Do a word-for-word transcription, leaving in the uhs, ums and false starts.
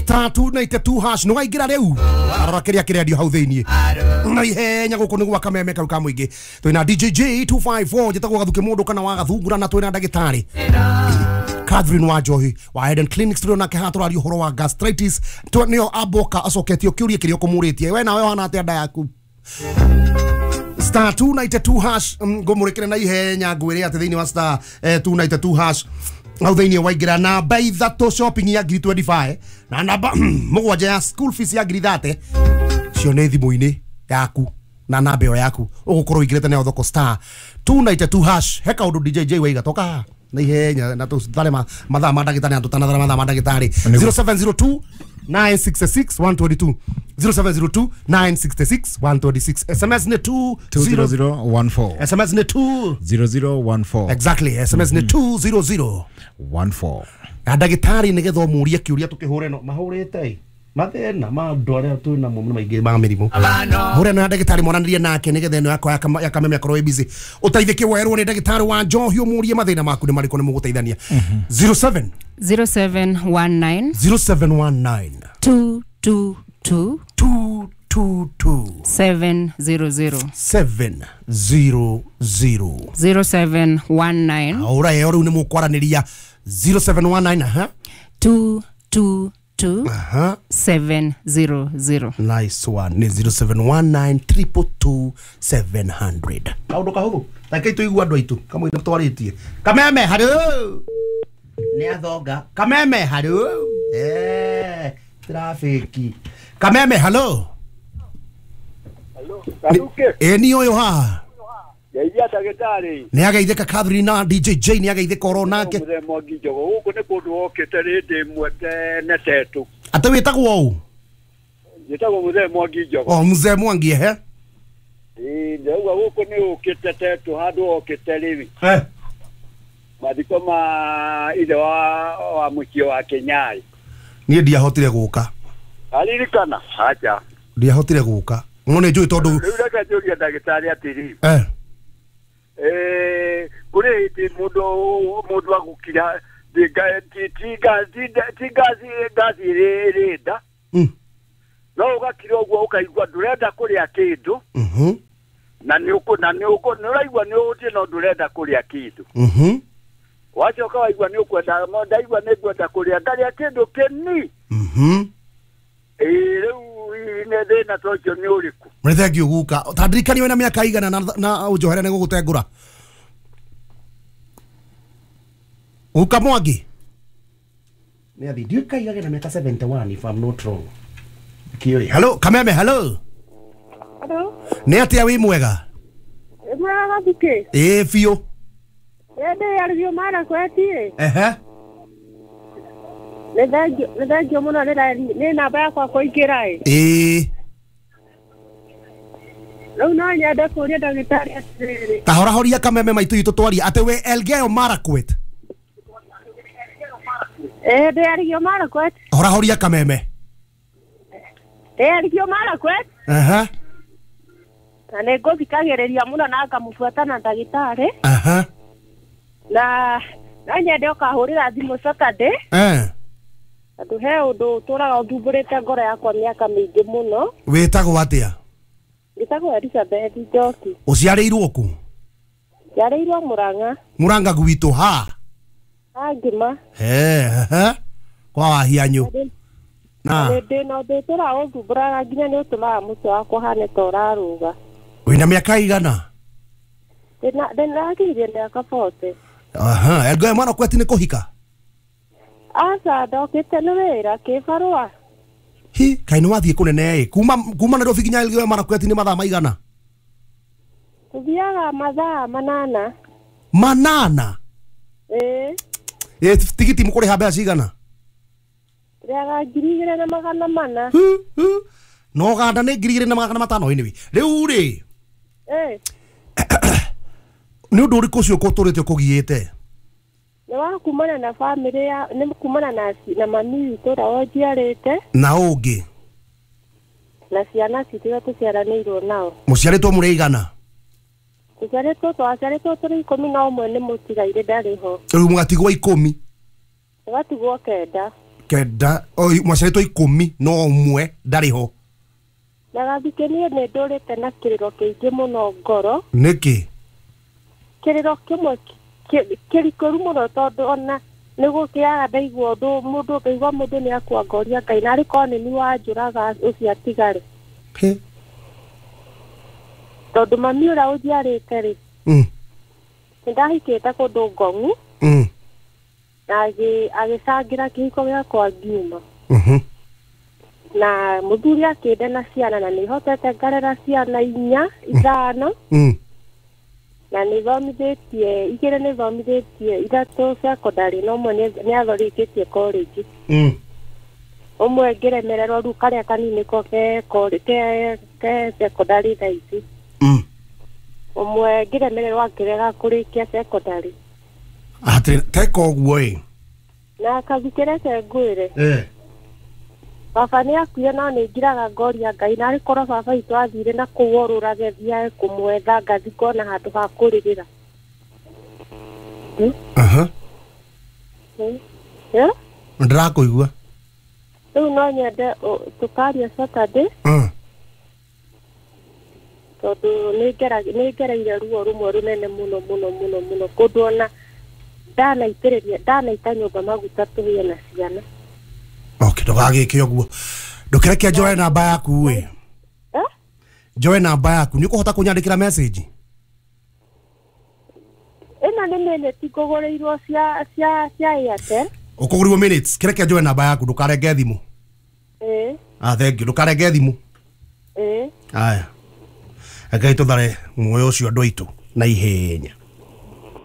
Star two ninety-two hash no waingĩra rĩu arora kĩrĩa kĩrendio hau thĩiniĩ na ihenya gũkũ nĩ gwa Kameme kau ka mũingĩ. Twĩna D J J two five four njĩtagwo Gathuke mũndũ kana wa Gathungura na twĩna ndagĩtarĩ Catherine Wanjohi wa Eden Clinics tũrĩ nake haha tũraria ũhoro wa gastritis. Nĩyo amboka acoketio kĩũria kĩrĩa ũkũmũrĩtie we nawe wana atĩa nda yaku. Star two ninety-two hash ngũmũrĩkĩre na ihenya ngwĩre atĩ thĩinĩ wa star two ninety-two hash hau thĩinĩ waingĩra namba ithatũ shopping ya ngiri twenty-five na namba mũgwanja ya school fees ya ngiri thirty cio nĩ thimũ-inĩ yaku na namba ĩyo yaku ũgũkorwo ũingĩrĩte nayo thoko star two ninety-two hash. He kaũndũ D J J waiga toka haha na ihenya na tũthare mathaa ma ndagĩtarĩ na tũtanathara mathaa ma ndagĩtarĩ. Zero seven zero two nine six six one two two zero seven zero two nine six six one two six. S M S ni two zero zero one four. S M S ni two zero zero one four. Exactly. S M S ni two zero zero one four. Na ndagĩtarĩ nĩgetha ũmũrie kĩũria tũkĩhũre no mahũrĩte mathĩna ma andũ arĩa twĩ namo mũno maingĩ ma mĩrimũ. Hũre na ndagĩtarĩ monanĩrie nake nĩgetha ĩno yakwa ya Kameme akorwo ĩ busy. Ũteithĩke werwo nĩ ndagĩtarĩ wa Njohi ũmũrie mathĩna maku nĩ marĩkũ nĩ mũgũteithania. zero seven zero seven one nine zero seven one nine two two two two two two seven zero zero seven zero zero zero seven one nine. Ora ero rĩu nĩ mũkwaranĩria zero seven one nine aha two two two aha seven zero zero. Nice one. Ni zero seven one nine triple two seven hundred. Kaũndũ kahũthũ reke tũigue andũ aitũ kamwe twarĩtie. Kameme harũ nĩ athonga. Kameme harũ eh trafiki. Kameme hello. Hello. Garuke. Eh ni ũyũ haha. Geithia ndagĩtarĩ. Nĩ ageithĩka Catherine na D J J nĩ ageithĩka oro nake. Mũthee Mwangi Njogo gũkũ nĩ kũndũ wokĩte rĩndĩ ĩmwe tene tetũ. Atĩ wĩtagwo ũũ? Njĩtagwo Mũthee Mwangi Njogo. Oh Mũthee Mwangi ehe. Ĩĩ ndauga gũkũ nĩ ũkĩte tetũ handũ wokĩte rĩu. Eh. Mathiko ma ithe wa wa mũciĩ wa Kĩnyai. Niĩ ndiahotire gũka. Aririkana? Acha. Ndiahotire gũka. No nĩ njũĩ tondũ rĩu reke njũrie ndagĩtarĩ atĩrĩ. Eh. Eh kũrĩ hĩndĩ mũndũ mũndũ agũkira ti ngazi ti ngazi ngazi ĩrĩ nda. No ũgakira ũguo ũkaigua ndũrenda kũrĩa kĩndũ. Mhm. Na nĩ ũkũ na nĩ ũkũ nĩ ũraigua nĩ ũhũtiĩ no ndũrenda kũrĩa kĩndũ. Mhm. Wacoka waigua nĩ ũkwenda ndaigua nĩ ngwenda kũrĩa ngarĩa kĩndũ kĩni. Mhm. Ĩĩ rĩu nĩ thĩna ta ũcio nĩ ũrĩkũ? Nĩ thengiũ guka. Ta ndirikanie wĩna mĩaka igana na na ũnjohere nĩ gũgũtengũra. Guka Mwangi. Nĩ athi ndiũĩ kaigage na mĩaka seventy-one if I'm not wrong. Kĩũĩ. Hello Kameme hello. Hello. Nĩ atĩa wĩ mwega? Wĩ mwega Gathuke? Ĩĩ biũ. Ndĩ Elgeyo Marakwet. Ehe. Nĩ thengiũ nĩ thengiũ mũno nĩ namba yakwa kũingĩra ĩ. Ĩĩ. Rĩu no nyende kũũria ndagĩtarĩ atĩrĩrĩ. Ta horahoria Kameme maitũ itũ twaria atĩ wĩ Elgeyo Marakwet. Ĩĩ ndĩ Elgeyo Marakwet. Horahoria Kameme. Ndĩ Elgeyo Marakwet. Aha. Na nĩ ngũthikagĩrĩria mũno na ngamũbuata na ndagĩtarĩ. Aha. Na no nyende ũkahũrĩra thimũ Saturday. Eh. Tondũ he ũndũ ũtũraga ũthumbũrĩte ngoro yakwa mĩaka mĩingĩ mũno. Wĩtagwo atĩa? Njĩtagwo Elizabeth Njoki. Ũciarĩirwo kũ? Njiarĩirwo Mũrang'a. Mũrang'a gwitũ ha? Ha Ngima. He he. Kwa Wahianyũ. Na ndĩ na ũndũ ũtũraga ũthumbũraga nginya nĩ ũtũmaga mũtwe wakwa ũhane ta ũrarũga. Wĩna mĩaka igana? Ndĩna mĩaka forty. Aha, Elgeyo Marakwet nĩ kũhika? Aca ndokĩte nĩ wĩra kĩbarũa. Hi, kaĩ nĩ wathiĩ kũnene ĩ. Kuma kuma Nairobi nginya Elgeyo Marakwet nĩ mathaa maigana? Tũthiaga mathaa manana. Manana? Ĩĩ. Ĩ tigiti mũkũrĩha mbeca cigana? Tũrĩhaga ngiri igĩrĩ na magana mana. No Uganda nĩ ngiri igĩrĩ na magana matano anyway. Rĩu rĩ. Ĩĩ. Nĩ ũndũ ũrĩkũ ũcio ũtũrĩte ũkũgiĩte? Nĩ wa kumana na family ya nĩ kumana na na mami witũ ũrĩa wanjiarĩte. Na ũngĩ? Na ciana citũ iria tũciaranĩirwo nao. Mũciarĩtwo mũrĩ aigana? Tũciarĩtwo twaciarĩtwo tũrĩ ikũmi na ũmwe nĩ mũtigairĩ ndarĩ ho. Rĩu mũgatigwo ikũmi? Tũgatigwo kenda. Kenda mwaciarĩtwo ikũmi no ũmwe ndarĩ ho. Na Gathukĩ niĩ nĩ ndũrĩte na kĩrĩro kĩingĩ mũno ngoro. Nĩkĩ? Kĩrĩro kĩmwe kĩrikũru mũno tondũ ona nĩ gũkĩaga ndaigua ũndũ mũndũ ngaigua mũndũ nĩ akua ngoria Ngai narĩ korwo nĩ niĩ wanjũraga ũcio atigare. Tondũ mami ũrĩa ũnjiarĩte rĩ, nĩ ndahikĩte kũndũ Ngong'u na agĩcangĩra kĩhiko gĩakwa ngiuma. Na mũthuri akĩnde na ciana na nĩ hotete ngarera ciana inya ithano na nĩ thomithĩtie igĩrĩ nĩ thomithĩtie ithatũ secondary na ũmwe nĩ athorĩkĩtie college. Ũmwe ngĩremererwo rĩu karĩa kanini ko ke ke ke secondary thaa ici. Ũmwe ngĩremererwo akĩrega kũrĩkia secondary. Atĩ teka ũguo ĩ. Na Kathukĩ reke ngwĩre. Baba nĩ akuire no nĩ ngiraga ngoria Ngai narĩ korwo baba witũ athire na kũu orũrage thiage kũmwetha ngathi ngona handũ ha kũrĩrĩra. Aha. Eh? Ndĩrakũigua. Rĩu no nyende tũkaria Saturday. Tondũ nĩ ngereire ruo rũmwe rũnene mũno mũno mũno mũno kũndũ ona ndanaitĩrĩria ndanaita nyũmba maguta tũhĩe na ciana. Okay, ndũgagĩke ũguo. Ndũkĩreke njoe namba yaku ĩ. Eh? Njoe namba yaku. Nĩ ũkũhota kũnyandĩkĩra message? Ĩno nĩ minute ngũgũrĩirwo cia cia cia Airtel. Ũkũgũrĩrwo minutes. Kĩreke njoe namba yaku ndũkarenge thimũ. Ĩ. Ah, thank you. Ndũkarenge thimũ. Ĩ. Aya. Ngai tũthare muoyo ũcio andũ aitũ na ihenya.